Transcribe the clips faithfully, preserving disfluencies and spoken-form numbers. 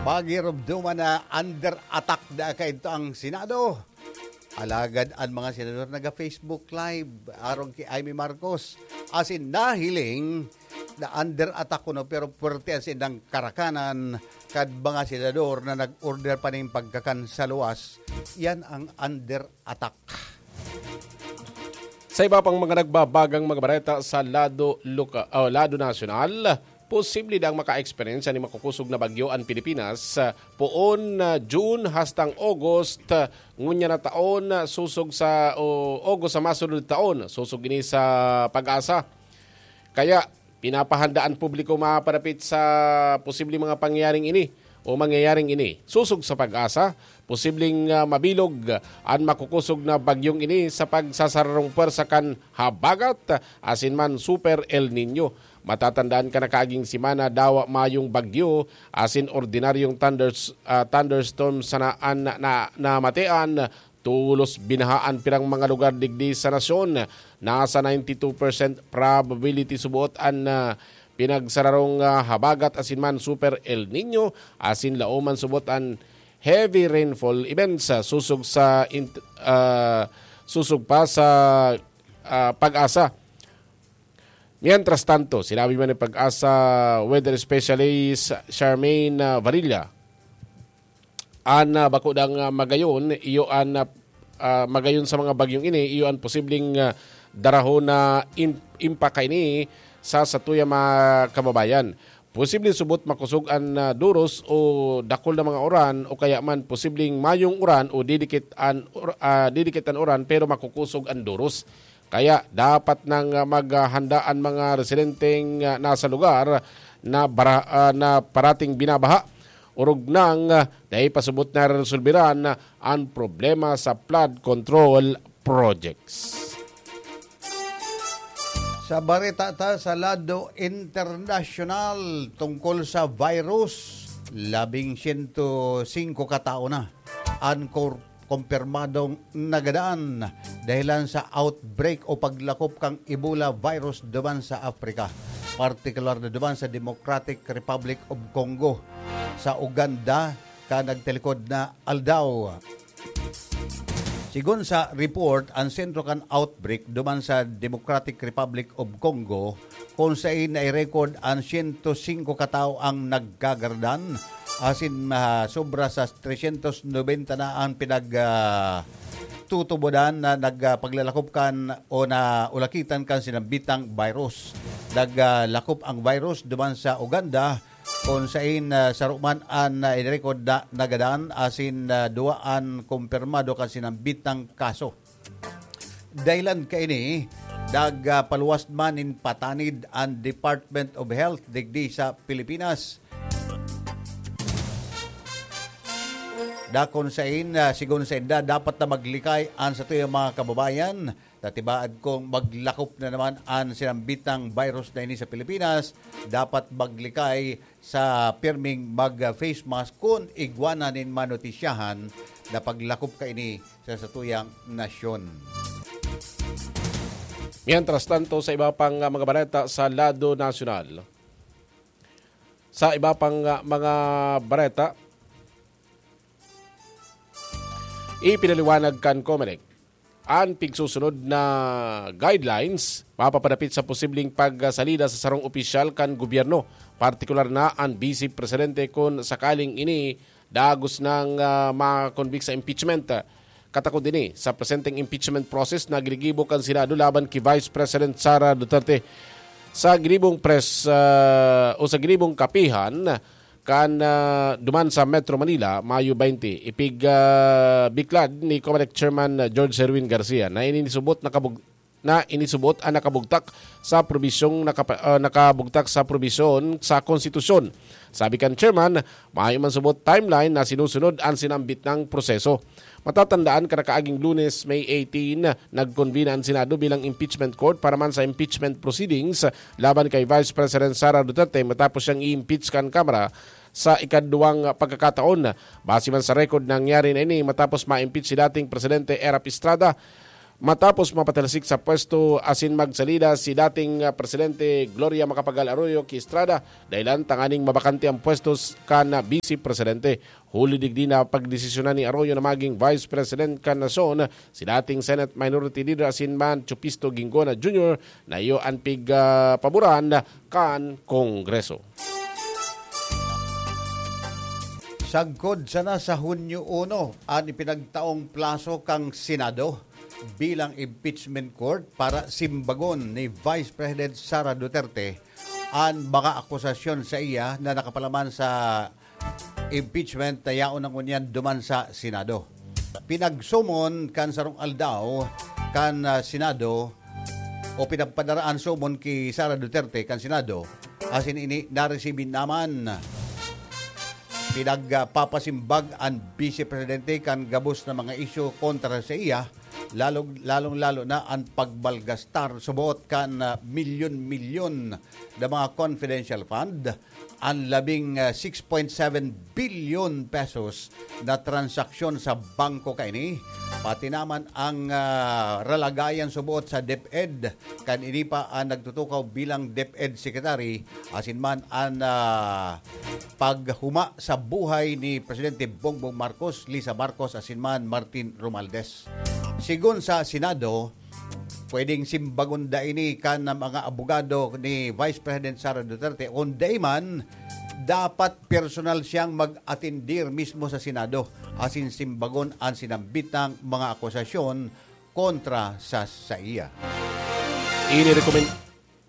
Pagirumduman na under attack na kaidto ang Senado. Alagad an mga senador naga-Facebook Live arog ki Imee Marcos. Asin nahiling na under attack kuno, pero puwerte an saindang karakanan kan mga senador na nag-order pa nin pagkakan sa luwas. Yan ang under attack. Sa iba pang mga nagbabagang mga bareta sa lado loka-, o lado nasyonal, posible daang maka-eksperyensya nin makukosog na bagyo an Pilipinas, ah, poon na June hastang August, ah, ngunyan na taon, ah, sosog sa, o August sa masunod taon, sosog ini sa PAGASA. Kaya, pinapahanda an publiko mapapanapit sa posibleng mga pangyayaring ini o mangyayaring ini. Sosog sa PAGASA, posibleng, ah, mabilog an makukosog na bagyong ini sa pagsasararong pwersa kan habagat asin man Super El Niño. Matatandaan kan nakaaging semana, dawa mayong bagyo asin ordinaryong thunders-, ah, thunderstorm sana an na, na, namatian. Tolos binaha an pirang mga lugar digdi sa nasyon. Nasa ninety-two percent probability subot an, ah, pinagsararong, ah, habagat asin man Super El Niño, asin laoman subot an heavy rainfall events, ah, sosog sa int-, ah, sosog pa sa, ah, PAGASA. Mientras tanto, sinabi man ni PAGASA weather specialist Charmaine, ah, Varilla, an, ah, bako dang, ah, magayon, iyo an, ah, ah, magayon sa mga bagyong ini, iyo an posibleng, ah, darahon na im-, impaka ini sa satuyang mga kababayan. Posibleng subot makosog an, ah, doros o dakul na mga uran o kaya man posibleng mayong uran o didikit an ur-, ah, didikit an uran pero makukosog an doros. Kaya dapat nang, ah, maghanda an mga residenteng, ah, nasa lugar na bara-, ah, na parating binabaha. Orog nang, ah, dai pa subot nareresolberan an problema sa flood control projects. Sa bareta ta sa lado internasyonal tungkol sa virus, labing siyento singko ka tawo na an kor-, kumpirmadong nagadan dahelan sa outbreak o paglakop kan Ebola virus duman sa Africa, partikular na duman sa Democratic Republic of Congo. Sa Uganda, kan nagtalikod na aldaw. Sigon sa report, an sentro kan outbreak duman sa Democratic Republic of Congo, kun saen nai-record an siyento singko ka tawo ang nagkagaradan, asin, ah, sobra sa tresyentos nobenta na an pinag, ah, tutubodan na nag, ah, paglalakop kan o naulakitan kan sinambitang virus. Nag, ah, lakop ang virus duman sa Uganda, kun saen, ah, saro man an, ah, in-record na nagadan asin, ah, duwa an kumpirmado kan sinambitang kaso. Dahelan kaini, nagpaluwas man nin patanid an Department of Health digdi sa Pilipinas. Dakon sain, ah, sigon sainda, dapat na maglikay an satuyang mga kababayan. Ta tibaad kung maglakop na naman an sinambitang virus na ini sa Pilipinas, dapat maglikay sa pirming mag-face mask kun igwa na nin manotisyahan na paglakop kaini sa satuyang nasyon. Mientras tanto, sa iba pang, ah, mga bareta sa lado nasyonal, sa iba pang, ah, mga bareta, ipinaliwanag kan Comelec an pigsusunod na guidelines mapapadapit sa posibleng pagsalida sa sarong opisyal kan gobyerno, partikular na an Vice Presidente, kun sakaling ini dagos nang, ah, makonbict sa impeachment. Katakod ini, sa presenteng impeachment process na ginigibo kan Senado laban ki Vice President Sara Duterte, sa ginibong press, ah, o sa ginibong kapihan, kan, ah, duman sa Metro Manila, Mayo twenty, ipig, ah, biklad ni Comelec Chairman, ah, George Herwin Garcia na inisubot nakabug-, na inisubot an nakabugtak sa probisyong nakapa-, ah, nakabugtak sa probisyon sa konstitusyon. Sabi kan Chairman, mayo man subot timeline na sinusunod an sinambit nang proseso. Matatandaan, kan nakaaging Lunes, May eighteen, nagkonbina an Senado bilang impeachment court para man sa impeachment proceedings laban kay Vice President Sara Duterte matapos siyang i-impeach kan Kamara sa ikaduwang pagkakataon. Base man sa record, nangyari na ini matapos ma-impeach si dating Presidente Erap Estrada. matapos mapatalsik sa pwesto asin magsalida si dating, ah, Presidente Gloria Macapagal Arroyo ki Estrada, dahilan tanganing mabakante ang pwesto s-, kan, ah, Vice Presidente. Huli digdi na pagdesisyonan ni Arroyo na maging Vice President kan nasyon si dating Senate Minority Leader asin man Chupisto Guingona Junior na iyo an pig, ah, paboran kan Kongreso. Sagkod sana sa Hunyo uno an ipinagtaong plaso kan Senado bilang impeachment court para simbagon ni Vice President Sara Duterte an mga akusasyon sa iya na nakapalaman sa impeachment na yaon na ngunyan duman sa Senado. Pinagsumon kan sarong aldaw kan, ah, Senado o pinagpadara an sumon ki Sara Duterte kan Senado, asin ini naresibi naman. Pinagpapasimbag an Vice Presidente kan gabos na mga isyu kontra sa iya, lalong, lalong-lalo na an pagmalgastar subot kan, ah, milyon-milyon na mga confidential fund, an labing, ah, six point seven bilyon pesos na transaksyon sa bangko kaini, pati naman ang, ah, ralagayan subot sa DepEd. Kan ini pa ang nagtutukaw bilang DepEd Secretary, asin man an, ah, paghuma sa buhay ni Presidente Bongbong Marcos, Lisa Marcos, asin man Martin Romualdez. Sigon sa Senado, pwedeng simbagon da ini kan mga abogado ni Vice President Sara Duterte. Kung dai man, dapat personal siyang mag-atendir mismo sa Senado asin simbagon an sinambitang mga akusasyon kontra sa saiya. Inirekomen-,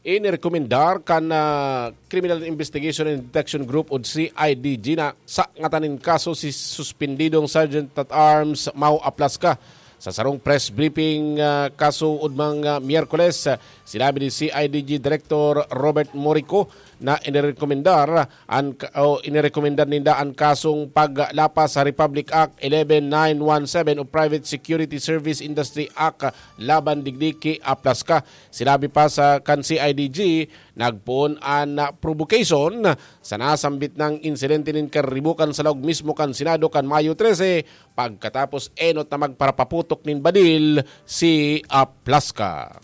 inirekomendar kan, ah, Criminal Investigation and Detection Group o C I D G na sangatan nin kaso si suspendidong Sergeant at Arms Mau Aplasca. Sa sarong press briefing, ah, kaso ugmang, ah, Miyerkules, ah, sinabi ni C I D G Director Robert Morico na inirekomendar an ka-, o inirekomendar ninda an kasong paglapas sa Republic Act eleven nine one seven o Private Security Service Industry Act laban digdi ki Aplasca. Sinabi pa sa kan C I D G, nagpoon an provocation sa nasambit nang insidente nin karibukan sa laog mismo kan Senado kan Mayo trese, pagkatapos enot na magparapaputok nin badil si Aplasca.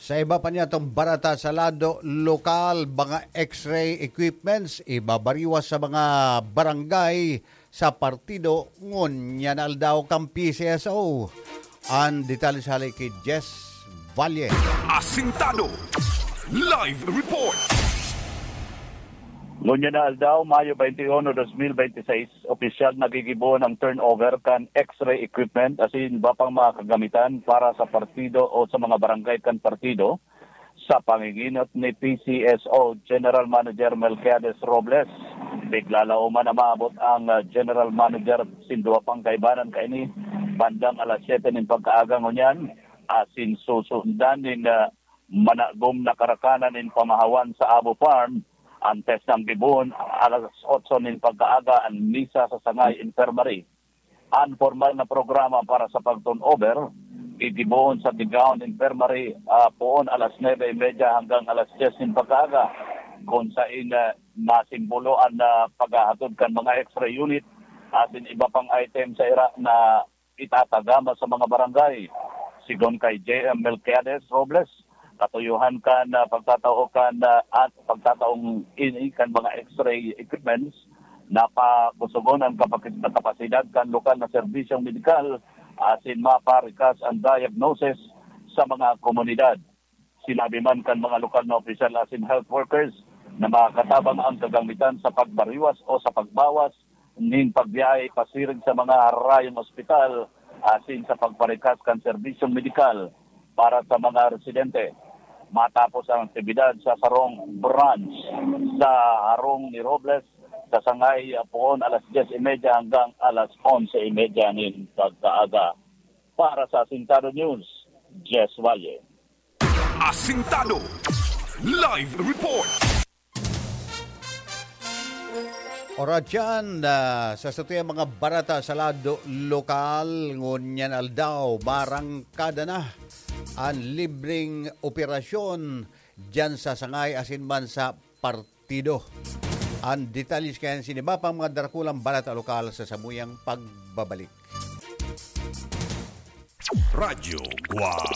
Sa iba pa niyatong barata sa lado lokal, mga X-ray equipments ibabariwas sa mga barangay sa partido ngunyan na aldaw kan P C S O. An detalye sa hali ki Jess Valle. Asintado. Live report. Ngunyan na aldaw, Mayo twenty-one, twenty twenty-six, opisyal na gigibohon ang turnover kan X-ray equipment asin iba pang mga kagamitan para sa partido o sa mga barangay kan partido. Sa panginginot ni P C S O General Manager Melquiades Robles, bigla la uman na maabot ang, ah, General Manager sin duwa pang kaibanan kaini bandang alas siyete nin pagkaaga ngunyan, asin susundan nin, ah, managom na karakanan nin pamahawan sa Abo Farm, antes nang gibohon alas otso nin pagkaaga an misa sa Sangay Infirmary. An pormal na programa para sa pag-turnover, gigibohon sa Tigaon Infirmary, ah, poon alas nuebe y media hanggang alas dyes nin pagkaaga, kun sain, ah, masimbolo an, ah, paghahatod kan mga X-ray unit asin iba pang item sa ira na itatagama sa mga barangay. Sigon kay J M Melquiades Robles, katuyohan kan, ah, pagtatao kan, ah, at pagtataong ini kan mga X-ray equipments, napakusugon an kapakit-, kapasidad kan lokal na serbisyong medikal asin maparikas an diagnosis sa mga komunidad. Sinabi man kan mga lokal na opisyal asin health workers na makakatabang ang kagamitan sa pagbariwas o sa pagbawas nin pagbiyahe pasiring sa mga harayong ospital asin sa pagparikas kan serbisyong medikal para sa mga residente. Matapos ang aktibidad sa sarong branch sa harong ni Robles sa Sangay, poon alas dyes y media hanggang alas onse y media nin pagkaaga. Para sa Asintado News, Jess Valle. Asintado Live Report. Oratyan, ah, sa satuyang mga barata sa lado lokal, ngunyan aldaw, marangkada na an libreng operasyon diyan sa Sangay asin man sa partido. Ang detalye kaya sa iba pang mga darakulang balita lokal sa samuyang pagbabalik. Radyo Guwang.